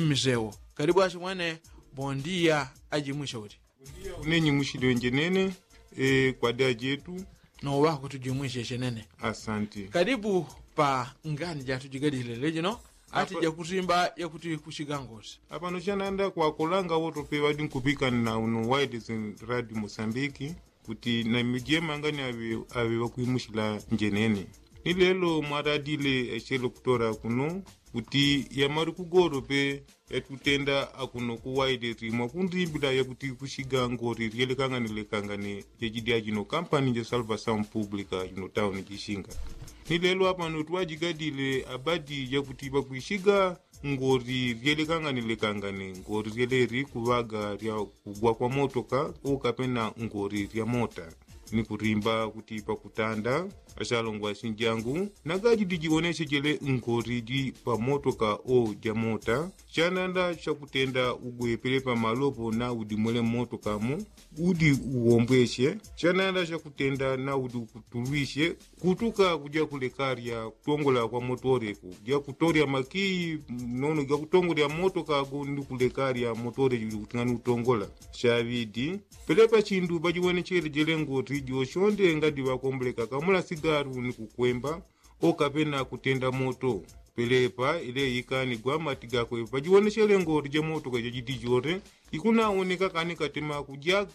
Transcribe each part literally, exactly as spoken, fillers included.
Mmisewo kalibu asimwene. Bondiya ajimwishe uti. Unenyi mwishilenje nene. Kwadi ajetu. Nowaku tujimwishe shenene. Asante. Kalibu pa ngani jatujigadile lejino. Ati jakusimba yakuti kushiga ngosi. Apano chananda kwakolanga woto pe ŵadi nkupikana uno wailesi radio mosambiki. Kuti na mijema ngani aŵe aŵe ŵakwimushila njenene. Ni lelo mwaradile echelo kutora kuno kuti yamali kugolo pe yatikutenda akuno kuwailesi mwakundimbila yakuti kushiga ngori lyelekangane lekangane jejidya jino kampani ja salvasaun publika jino tauni jishinga. Ni lelo apano twajigadile abadi jakuti ŵakwishiga ngori lyelekangane lekangane ngori lyeleri kuŵaga lya kugwa kwa motoka okapena ngori lya mota. Ni kulimba kuti pakutanda achalongwa sinjangu nagajidi jiwonesechele ngori ji pa motoka o ja mota. Chananda chakutenda ugwepele pamalopo na udimwele motoka mo udi uwombweshe. Chananda chakutenda na udi ukutulwishe kutuka kuja kulekarya kutongola kwa motore ku ja kutorya makiyi nono ja kutongolya motoka go ndi kulekarya motore juli kuting'ani utongola. Chaŵidi pele pachindu pajiwonechele jelengoti joshonde ngadi ŵakomboleka kamula sigaru ni kukwemba okapena kutenda moto. Pelepa ileyi kani gwamati gakwe pajiwonechele ngoti ja motoka jajidi jore ikunawoneka kani katema kuja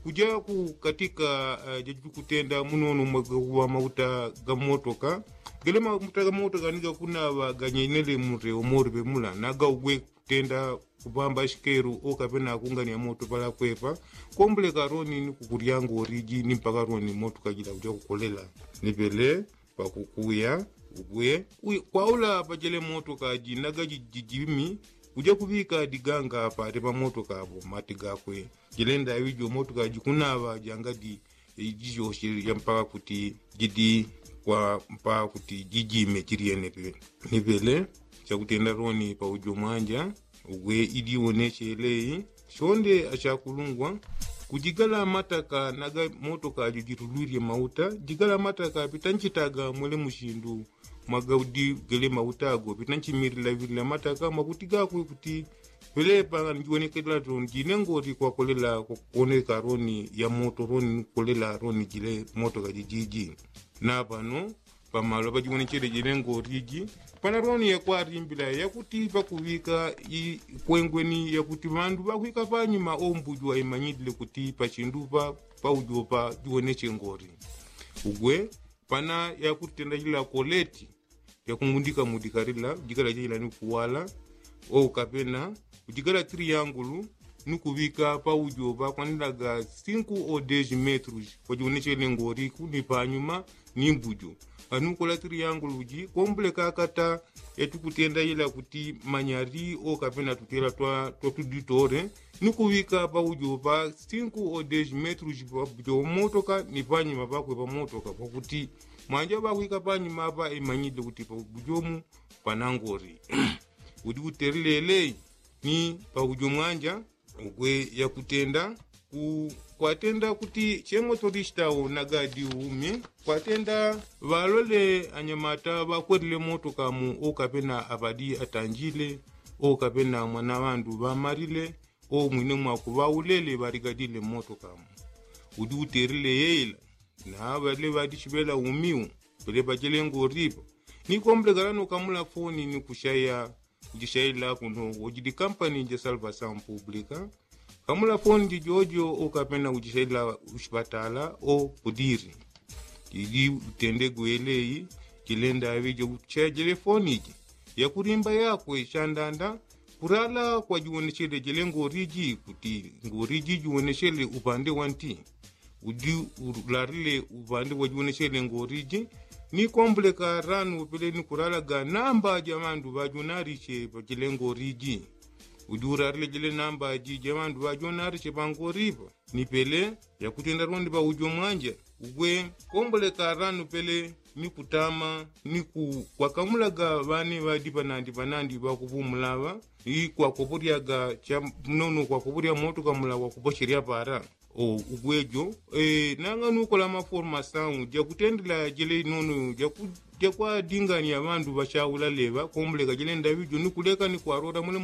kuja kukatika jajikutenda munono mwaga kuŵa mauta ga motoka. Gele mauta ga motoka ni gakunaŵa ganyenele mure omori pemula na gaugwe kutenda kupamba shikeru okapena kungania moto pala kwepa. Kombuleka roni ni kukulya ngoriji ni mpaka roni motoka jila kuja kukolela. Ni pele pakukuya ugwe kwaula pajele motoka ji naga jijimi kuja kuŵika diganga pale pamotoka apo mati gakwe. Jilenda aŵi jomotoka jikunaŵa jangadi jijoshe ja mpaka kuti jidi kwa mpaka kuti jijime jilyene pe. Ni pele chakutenda roni paujo mwanja ugwe idiwoneche eleyi. Shonde ashakulungwa kujigala mataka naga motoka ajo jitulwilye mauta jigala mataka pitanchitaga mwele mushindu mwaga udi gele mauta ago pitanchimilila vilila mataka mwakuti gakwe kuti pelepa njiwonekela roni jine ngoti kwakolela kwakuwoneka roni ya moto roni nikukolela roni jile motoka jijiji. Na pano pamalo pajiwonechele jile ngoti ji pana roni yakwarimbila yakuti pakuŵika ikwengweni yakuti ŵandu ŵakwika panyuma ombuju aimanyilile kuti pachindupa paujopa jiwoneche ngoti ugwe pana yakutenda jila koleti yakungundika mudika lila jikala jila ni kuwala okapena kujikala triyangulu ni kuŵika paujo pakwandilaga sinku o desi metrus kwajiwonechele ngoriku ni panyuma ni mbujo. Anukola triyangulu ji kombuleka akata yatikutenda jila kuti manyari okapena tutela twa tuditore ni kuŵika paujo pa sinku o desi metrus paujo motoka ni panyuma pakwe pamotoka pakuti mwanja ŵakwika panyuma apa imanyile kuti paujo mu panangori. Udi utelelele ni paujo mwanja ugwe yakutenda kwatenda kuti chemotorista wo nagadi umi kwatenda ŵalole anyamata ŵakwelile motoka mu okapena aŵadi atanjile okapena mwana ŵandu ŵamalile omwine mwaku ŵaulele ŵaligadile motoka mu. Udi utelele yeila na ŵale ŵadichiŵela umiu pele pajele ngoripo ni kombulekala nokamula foni ni kushaya kuchishaila kuno wojidi kampani ja salvasaun publika. Kamula foni jijojo okapena kuchishaila kuchipatala o kudiri jidi utende gweleyi. Jilenda aŵi jokuchaya jele foni ji yakulimba yakwe shandanda kurala kwajiwonechele jele ngoriji kuti ngoriji jiwonechele upande wanti udi ularile uŵandi wajiwonechele ngoriji. Ni kombuleka ranu pele ni kulalaga namba ja ŵandu ŵajonalishe pachile ngoriji udi ularile jile namba ji ja ŵandu ŵajonalishe pangoripo. Ni pele yakutenda londi paujo mwanja ugwe kombuleka ranu pele ni kutama ni kwakamulaga ŵane ŵadi panandi panandi ŵakupumulaŵa ni kwakopolyaga cha mnono kwakopolya moto kamula kwakupocherya para. O ugwejo nanga nukola maformasaun jakutendela jele inono jakwadingania ŵandu ŵachaula leŵa kombuleka jele ndaŵijo ni kuleka ni kwarora mwele.